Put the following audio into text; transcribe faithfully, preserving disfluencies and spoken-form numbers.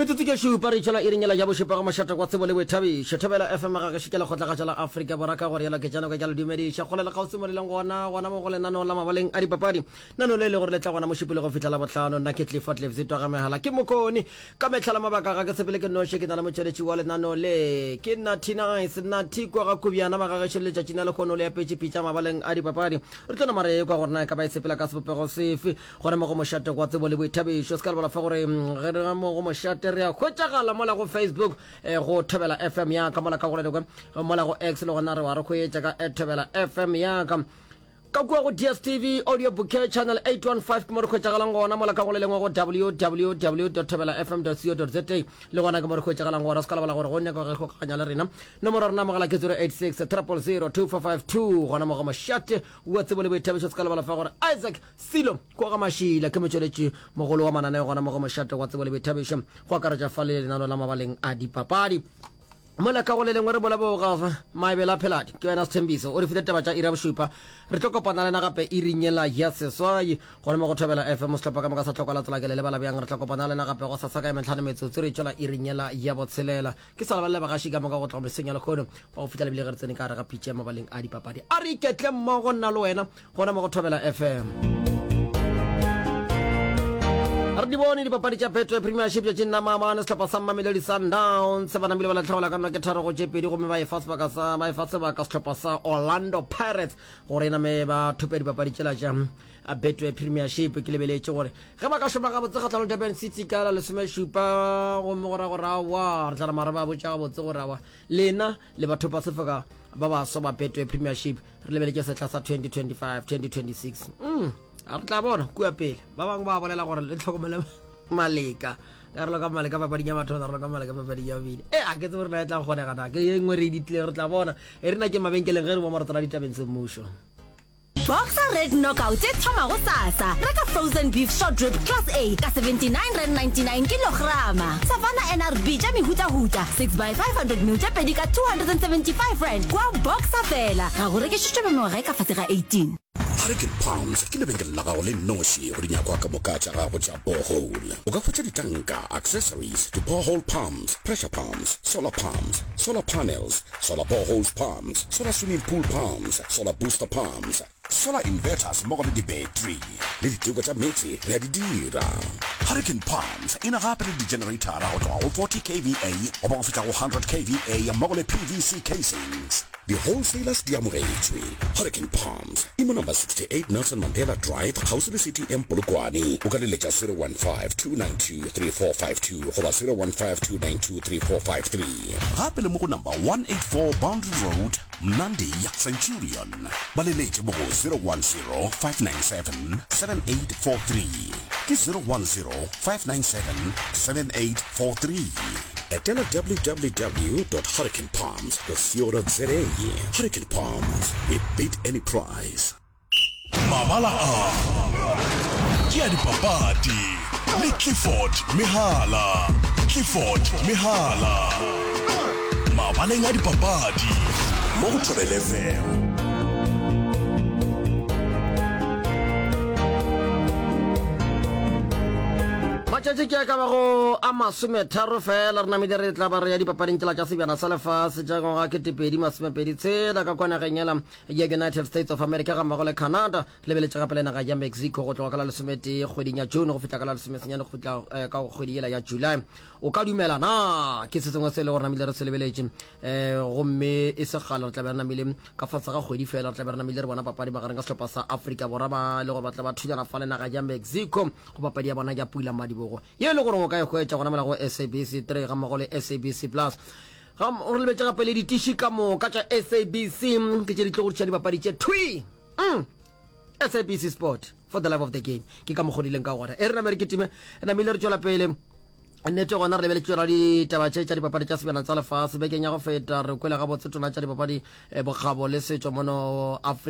Metsotso ke šupa re itšhela iring yela ya bošupa go mošate wa tsebo le boithabišo. Thobela F M ga gešo ke lekgotlagatša la Afrika Borwa ka gore yela ke tšano ka ke a le dumediša kgole le kgauswi mo le leng gona gona mo go lenaneo la mabaleng a dipapadi. Nano le e le gore le tla gona Mošupologo go fihla Labohlano. Nna ke Clifford Lefzitwa ga Mehala ke Mokone. Ka mehla le mabaka ga ke sepele ke noši ke na le motšweletši wa lenaneo le ke Natty Nice Natty kwa ga Kubjana magagešo le letšatšing la lehono le apetše pitša mabaleng a dipapadi. Re tlo nama re ekwa gore na e ka ba e sepela ka sebopego sefe. Gona mo go mošate gwa tsebo le boithabišo. Se ka lebala fa gore ge re mo go mošate re a hwetšagala mola go Facebook eh, go Thobela F M ya ka, mola ka go le mola go X le gona re wa re hwetša ka at Thobela F M ya ka. Ka kua go D S T V Audio Bouquet Channel eight one five ke mo re hwetšagalang gona, mola ka go le lengwe go W W W dot thobela F M dot co dot Z A le gona ke mo re hwetšagalang gona. Se ka lebala gore go nyaka go kgokaganya le rena, nomoro ya rena mogala ke zero eight six triple zero two four five two. Gona mo go mošate wa tsebo le boithabišo, se ka lebala fa gore Isaac Silo kwa ga Mašila ke motšweletši mogolo wa mananeo gona mo go mošate wa tsebo le boithabišo, go akaretša fa le lenano la mabaleng a dipapadi. Mola ka go le lengwe re boleboga Maebela Pheladi, ke wena Sethembiso, o re file taba tša iri ya bošupa. Re tlo kopana le na gape iring yela ya seswai gona mo go Thobela F M. Sehlopha ka moka sa Tlokwa la Tsela ke le lebala bjang. Re tla kopana le na gape gosasa ka ya mehlano metsotso re tšwela iring yela ya botshelela. Ke sa lebalele bagaši ka moka go tloga mesong ya lehono ba go fihla lebile ge re tsene ka gare ga pitša ya mabaleng a dipapadi. A re iketle mmogo nna le wena gona mo go Thobela F M. Re di bone dipapadi tša Betway Premiership tšatšing la maabane. Sehlopha sa Mamelodi Sundowns ba namile ba latlhegelwa ka nno ke tharo go tše pedi gomme ba efa sebaka sa ba efa sebaka sehlopha sa Orlando Pirates gore e name ba thope dipapadi tšela tša Betway Premiership. Ke lebeletše gore ge ba ka šoma gabotse kgahlanong le Durban City ka la lesomešupa gomme go ra gore aowa re tla nama re ba botša gabotse gore aowa lena le bathopa sefoka ba baswa ba Betway Premiership re lebeletše sehla sa twenty twenty-five twenty twenty-six. Mm, a re tla bona kua pele. Ba bangwe ba bolela gore le tlhokomele Maleka ka relo ka Maleka papading ya mathomo, relo ka Maleka papading ya bobedi. E a ke tsebe gore na e tla kgonega na ke ye nngwe re e ditlileng, re tla bona. E re na ke mabenkeleng ge re bo marotho la ditabeng semmušo. Boxer Red Knockout e thoma gosasa. Reka frozen beef short rib class A ka seventy-nine rand ninety-nine kilograma. Savanna N R B tša mehutahuta six by five hundred mil tše pedi ka two hundred and seventy-five rand kwa Boxer fela. Ga go rekišetšwe ba mengwaga e ka fase ga eighteen. Hurricane Palms ke lebenkele la gago le nnoši go dinyakwa ka moka tša gago tša borehole. O ka hwetša ditanka, accessories, di-borehole pumps, pressure pumps, solar pumps, solar panels, solar boreholes pumps, solar swimming pool pumps, solar booster pumps, solar inverters mmogo le di-battery. Le diteko tša meetse re a di dira. Hurricane Pumps e na gape le di-generator go tloga go forty K V A goba go fihla go hundred K V A mmogo le P V C casings. Di-wholesalers di amogetšwe. Hurricane Palms e mo number sixty-eight Nelson Mandela Drive kgauswi le C T M Polokwane. O ka leletša zero one five, two nine two, three four five two goba zero one five, two nine two, three four five three. Gape le mo go number one eight four Boundary Road, Mnandi, Centurion. Ba leletše mo go zero one zero, five nine seven, seven eight four three. Ke zero one zero, five nine seven, seven eight four three. Etela w w w dot hurricane palms dot co dot za. Hurricane Palms, we beat any price. Mabala a ke a dipapadi le Clifford Mehala. Clifford Mehala. Mabaleng a dipapadi mo go Thobela F M. Matšatši ke a ka bago a masometharo fela re namile re tla ba re ya dipapading tšela tša sebjana sa lefase tša ngwaga ketepedi masomepedi tshela ka kwa nageng yela ya United States of America ga mmogo le Canada. Re lebeletše gape le naga ya Mexico go tloga ka la lesometee kgweding ya June go fihla ka la lesomesenyane go fihla eh, ka kgwedi yela ya July. O ka dumela na ke se sengwe se e le gore namile re se lebeletše eh, gomme e se kgale re tla be re namile ka fase ga kgwedi fela re tla be re namile re bona papadi magareng ka sehlopha sa Afrika Borwa ba e le gore ba tla ba thulana fa le naga ya Mexico go papadi ya bona ya pula madibogo ye e le gore o ka e hwetša gona mola go S A B C three ga mmogo le S A B C plus. Ga re lebetše gape le ditiši ka moka tša S A B C ke tše di tlo go tliša dipapadi tše thwi. Mm. S A B C Sport for the love of the game ke ka mokgo di leng ka gona. E re name re kitime, re namile re tšwela pele. Nnete gona re lebeletše tšona ditaba tše tša dipapadi tša sebjana tsa lefase. Bekeng ya go feta re kwele gabotse tona tša dipapadi, eh, bokgabo le setšo mono Afrika.